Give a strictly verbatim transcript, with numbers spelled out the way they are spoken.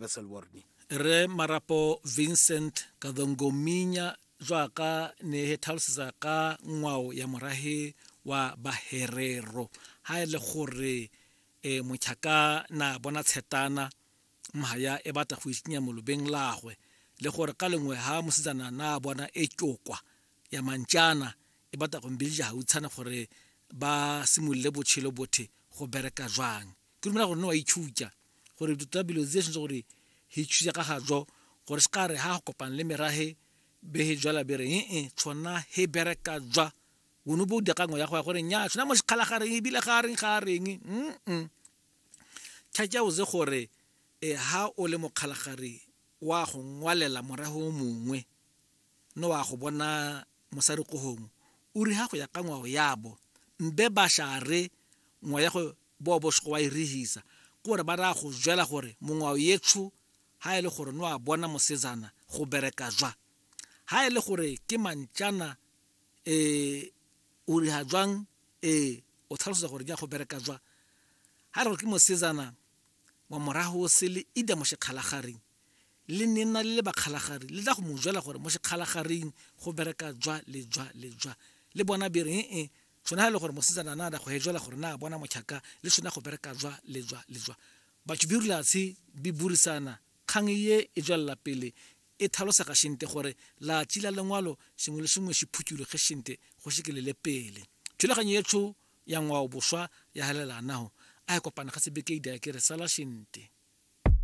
Wesselworni. Re Marapo Vincent Kadongominya jwaka ne he tlhalosetsa ka ngwao ya morahe wa Baherero ha e le gore e mochaka na bona tshetana mhaya e batla go itsenya molobeng lagwe le gore ka lengwe ha mosetsana na bona e tšokwa ya mantšana e batla go mbilja hautshana gore ba simolole botshelo bothe go bereka jwang. Ke dumela gore ne wa itšhutša gore tota bilo tse sentse gore he itšhutša ka ga jo gore se ka re ha go kopana le merahe be he jwala be re ee tshwana he bereka jwa o bo dira kangwe ya go ya gore nya tshwana mo sekgalagareng ebile ga reng ga reng mm tšhatša o ze gore e ha o le mokgalagare wa go ngwalela morago o mongwe no wa go bona mosadi ko gongwe o re ha go ya ka ngwao yabo mbe ba share ngwa ya go bo bo go wa irihisa gore ba ra go jwela gore mongwao yetsho ha e le gore no a bona mosetsana go bereka jwa ha e le gore ke mantšana e o re ha jwang e o tlhalosa gore ja go bereka jwa ha re ke mosetsana wa morago o sele ida mo sekgalagareng le nena le le bakgalagare le tla go mo jwela gore mo sekgalagareng go bereka jwa le jwa le jwa le bona be re ee tshwana ha e le gore mosetsana na da go he jwela gore na bona mochaka le tshwana go bereka jwa le jwa le jwa batho bi rulatse bi burisana kgang ye e jwella pele e tlhalosega shente gore la tšila lengwalo sengwe le sengwe se phuthuloge shente go sekelele pele. Thulaganyo yetsho ya ngwao boswa ya helela naho a e kopana ga sebeke ida ke re sala shente.